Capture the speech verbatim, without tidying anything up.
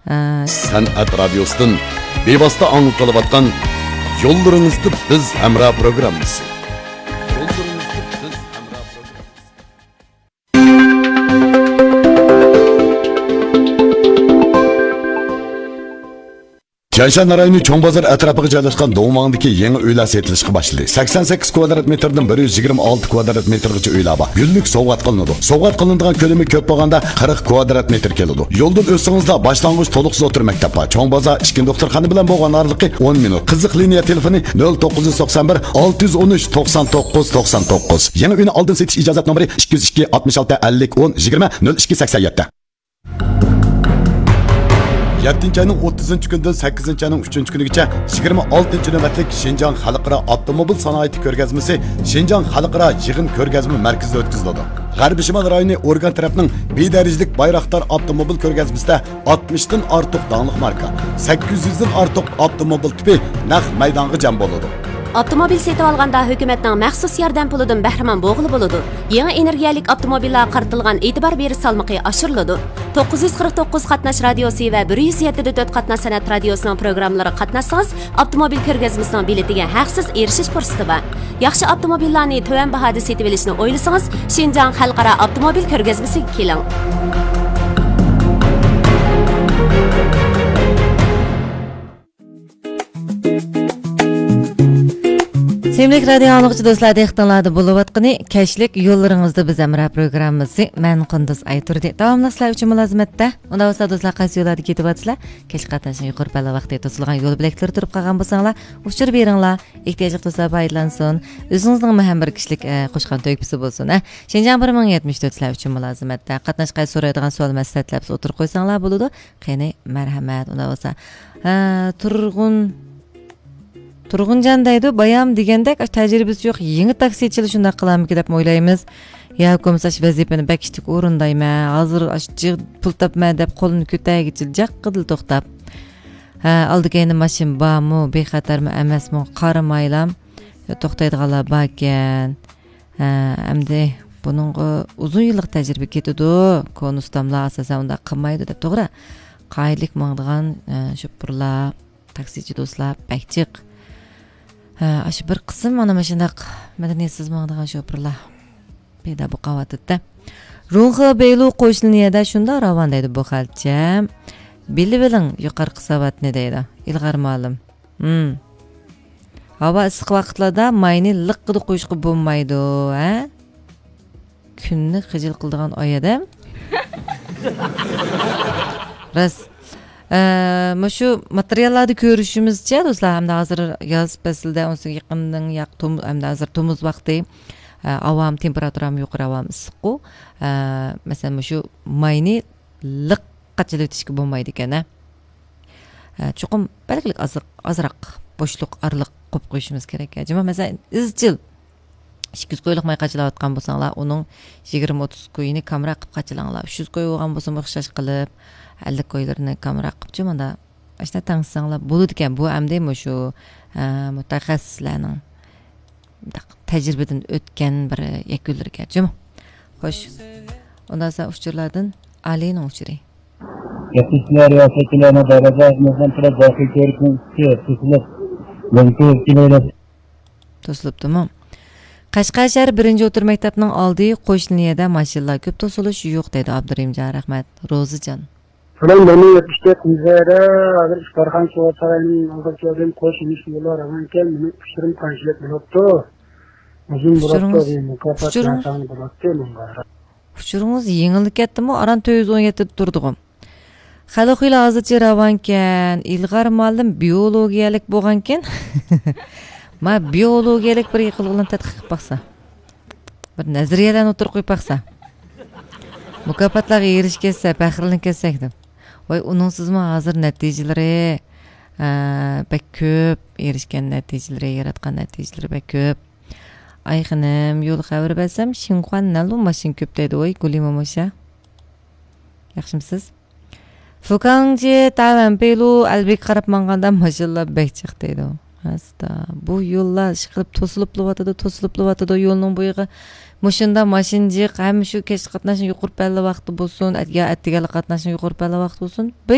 ئە، سەنئەت رادىيوسىدىن بىۋاسىتە ئاڭلىتىلىۋاتقان يوللىرىڭىزدا بىز ھەمراھ پروگراممىسى. يوللىرىڭىزدا بىز ھەمراھ پروگراممىسى. تيەنشان رايونى چوڭ بازار ئەتراپىغا جايلاشقان دۇڭۋاڭدىكى يېڭى ئۆيلەر سېتىلىشقا باشلىدى. سەكسەن سەككىز كۋادرات مېتىردىن بىر يۈز يىگىرمە ئالتە كۋادرات مېتىرغىچە ئۆيلەر بار. گۈللۈك سوۋغات قىلىنىدۇ. سوۋغات قىلىنىدىغان كۆلىمى كۆپ بولغاندا قىرىق كۋادرات مېتىر كېلىدۇ. يولدىن ئۆتسىڭىزلا باشلانغۇچ تولۇقسىز ئوتتۇرا مەكتەپ بار. چوڭ بازار ئىككىنچى دوختۇرخانا بىلەن بولغان ئارىلىقى ئون مىنۇت. قىزىق لىنىيە تېلېفونى نۆل توققۇز يۈز توقسان بىر، ئالتە يۈز ئون ئۈچ، توقسان توققۇز، توقسان توققۇز. يېڭى ئۆينى ئالدىن سېتىش ئىجازەت نومۇرى ئىككى يۈز ئىككى، ئاتمىش ئالتە، ئەللىك، ئون، يىگىرمە، نۆل ئىككى، سەكسەن يەتتە. يەتتىنچى ئاينىڭ ئوتتۇزىنچى كۈنىدىن سەككىزىنچى ئاينىڭ ئۈچىنچى كۈنىگىچە يىگىرمە ئالتىنچى نۆۋەتلىك شىنجاڭ خەلقئارا ئاپتوموبىل سانائىتى كۆرگەزمىسى شىنجاڭ خەلقئارا يىغىن كۆرگەزمە مەركىزىدە ئۆتكۈزۈلىدۇ. غەربىي شىمال رايونى ئورگان تەرەپنىڭ بىر دەرىجىلىك بايراقدار ئاپتوموبىل كۆرگەزمىسىدە ئاتمىشتىن ئارتۇق داڭلىق ماركا، سەككىز يۈزدىن ئارتۇق ئاپتوموبىل تىپى نەق مەيدانغا جەم بولىدۇ. ئاپتوموبىل سېتىۋالغاندا ھۆكۈمەتنىڭ مەخسۇس ياردەم پۇلىدىن بەھرىمەن بولغىلى بولىدۇ. يېڭى ئېنېرگىيەلىك ئاپتوموبىللارغا قارىتىلغان ئېتىبار بېرىش سالمىقى ئاشۇرۇلىدۇ. توققۇز يۈز قىرىق توققۇز قاتناش رادىيوسى ۋە بىر يۈز يەتتە دە تۆت قاتناش سەنئەت رادىيوسىنىڭ پروگراممىلىرىغا قاتناشسىڭىز، ئاپتوموبىل كۆرگەزمىسىنىڭ بېلىتىگە ھەقسىز ئېرىشىش پۇرسىتى بار. ياخشى ئاپتوموبىللارنى تۆۋەن باھادا سېتىۋېلىشنى ئويلىسىڭىز، شىنجاڭ خەلقئارا ئاپتوموبىل كۆرگەزمىسىگە كېلىڭ. سۆيۈملۈك رادىيو ئاڭلىغۇچى دوستلار، دىققىتىڭلاردا بولۇۋاتقىنى كەچلىك يوللىرىڭىزدا بىز ھەمراھ پروگراممىسى. مەن قۇندۇز ئايتۇردى. داۋاملىق سىلەر ئۈچۈن مۇلازىمەتتە. ئۇنداق بولسا دوستلار، قايسى يوللاردا كېتىۋاتىسىلەر؟ كەچلىك قاتناشنىڭ يۇقىرى پەللا ۋاقتى توسۇلغان يول بۆلەكلىرى تۇرۇپ قالغان بولساڭلار، ئۇچۇر بېرىڭلار. ئېھتىياجلىق دوستلار پايدىلانسۇن. ئۆزىڭىزنىڭمۇ ھەم بىر كىشىلىك، ئە، قوشقان تۆھپىسى بولسۇن، ھە. شىنجاڭ بىر مىڭ يەتمىش تۆت سىلەر ئۈچۈن مۇلازىمەتتە. قاتناش قايسى سورايدىغان سوئال مەسلىھەتلەر بولسا ئوتتۇرىغا قويساڭلار بولىدۇ. قېنى، مەرھەمەت، ئۇنداق بولسا. ھە، تۇرغۇن، تۇرغۇنجان دەيدۇ، بايام دېگەندەك، ئاشۇ تەجرىبىسى يوق يېڭى تاكسىچىلار شۇنداق قىلارمىكىن دەپمۇ ئويلايمىز. يا بولمىسا ئاشۇ ۋەزىپىنى بەك ئىشتىك ئورۇندايمەن، ھازىر ئاشۇ جىق پۇل تاپىمەن دەپ قولىنى كۆتەرگۈچىلا جاققىدىلا توختاپ. ھە، ئالدى كەينىدە ماشىنا بارمۇ، بىخەتەرمۇ ئەمەسمۇ قارىمايلا توختايدىغانلار باركەن. ھە، ئەمدى بۇنىڭغا ئۇزۇن يىللىق تەجرىبە كېتىدۇ. كونا ئۇستاملار ئاساسەن ئۇنداق قىلمايدۇ دەپ، توغرا. قائىدىلىك ماڭىدىغان، ھە، شوپۇرلار، تاكسىچى دوستلار بەك جىق. ھە، ئاشۇ بىر قىسىم مانا مۇشۇنداق مەدەنىيەتسىز ماڭىدىغان شوپۇرلار پەيدا بولۇپ قالىۋاتىدۇ-دە. رۇڭخې بېيلۇ قوشنا لىنىيەدە شۇنداق راۋان دەيدۇ بۇ خەلچە. بىلىۋېلىڭ يۇقىرىقى ساۋاتنى دەيدۇ ئىلغار مۇئەللىم. ھىم. ھاۋا ئىسسىق ۋاقىتلاردا ماينى لىققىدە قويۇشقا بولمايدۇ، ھە؟ كۈننى خىجىل قىلىدىغان ئاي ئادەم. راست. ئە، مۇشۇ ماتېرىياللاردا كۆرۈشىمىزچە، دوستلار، ھەمدە ھازىر ياز پەسلىدە، ئۇنىڭ يېقىندىن ياق-، توم-، ھەمدە ھازىر تومۇز ۋاقتى، ئە، ھاۋام تېمپېراتۇرام يۇقىرى، ھاۋام ئىسسىققۇ. ئە، مەسىلەن، مۇشۇ ماينى لىققا چېلىۋېتىشكە بولمايدىكەن، ھە. ئە، چوقۇم بەلگىلىك ئازراق، ئازراق بوشلۇق، ئارىلىق قويۇپ قويۇشىمىز كېرەك. جۇمۇ، مەسىلەن، ئىزچىل ئىككى يۈز كويلۇق ماي قاچىلاۋاتقان بولساڭلار، ئۇنىڭ يىگىرمە، ئوتتۇز كويىنى كامراق قىلىپ قاچىلاڭلار. ئۈچ يۈز كوي بولغان بولسىمۇ ئوخشاش قىلىپ، ئەللىك كويلىرىنى كامراق قىلىپ، جۇمۇ، مۇنداق ئاشۇنداق تەڭشىسەڭلار بولىدىكەن. بۇ ئەمدى مۇشۇ، ئە، مۇتەخەسسىسلەرنىڭ مۇنداق تەجرىبىدىن ئۆتكەن بىر يەكۈنلىرىكەن، جۇمۇ. خوش. ئۇنداق بولسا ئۇچۇرلاردىن ئالىنىڭ ئۇچۇرى. يەتكۈزۈشلەر رىياسەتچىلەرنىڭ دەرۋازا ئېچىلغان تەرەپ داخىل كۆرۈكنىڭ ئۈستى توسۇلۇپ، لېنكا كېلىۋېرىپ. توسۇلۇپتۇمۇ؟ قەشقەر شەھەر بىرىنچى ئوتتۇرا مەكتەپنىڭ ئالدى قوشنا لىنىيەدە ماشىنىلار كۆپ، توسۇلۇش يوق دەيدۇ ئابدۇرېھىمجان. رەھمەت. روزىجان. سالام، مەن يەتمىش تۆت مۇزەيدە ھازىر ئىپتارخانا سوۋغا ساراينىڭ ئالدىغا كەلدىم. قوش يېمىش يوللار راۋانكەن، مېنىڭ ئۇچۇرۇم قانچىلىك بولۇپتۇ؟ ئۇزۇن بولۇپتۇ، ئۇچۇرىڭىز، بىر مۇكاپات ئۇچۇرىڭىز، نىشانى بولاتتى ماڭا. ئۇچۇرىڭىز يېڭىلا كەتتىمۇ، ئاران تۆت يۈز ئون يەتتىدە تۇردىغۇ. خەلقۇيلا ھازىرچە راۋانكەن، ئىلغار مۇئەللىم بىئولوگىيەلىك بولغانكەن. ما بىئولوگىيەلىك بىر يىقىلغىلىنى تەتقىق قىلىپ باقسا. بىر نەزەرىيەلەرنى ئوتتۇرىغا قويۇپ باقسا. مۇكاپاتلارغا ئېرىشكەنسە، پەخىرلىنىپ كەتسەك دەپ. ۋاي، ئۇنىڭسىزمۇ ھازىر نەتىجىلىرى، ئە، بەك كۆپ، ئېرىشكەن نەتىجىلىرى، ياراتقان نەتىجىلىرى بەك كۆپ. ئاي خېنىم، يول خەۋىرى بەرسەم، شىنخۇا نەنلۇ ماشىنا كۆپ دەيدۇ، ۋاي، گۇلى موموشا. ياخشىمسىز؟ فۇكاڭجى تاۋەنپېيلۇ ئەلبىگە قاراپ ماڭغاندا ماشىنىلار بەك جىق دەيدۇ. ھەستا، بۇ يوللار ئىشقىلىپ توسۇلۇپلىۋاتىدۇ، توسۇلۇپلىۋاتىدۇ يولنىڭ بويىغا. مۇشۇنداق ماشىنا جىق، ھەم شۇ كەچلىك قاتناشنىڭ يۇقىرى پەللە ۋاقتى بولسۇن، ئەت-، يا ئەتىگەنلىك قاتناشنىڭ يۇقىرى پەللە ۋاقتى بولسۇن، بەك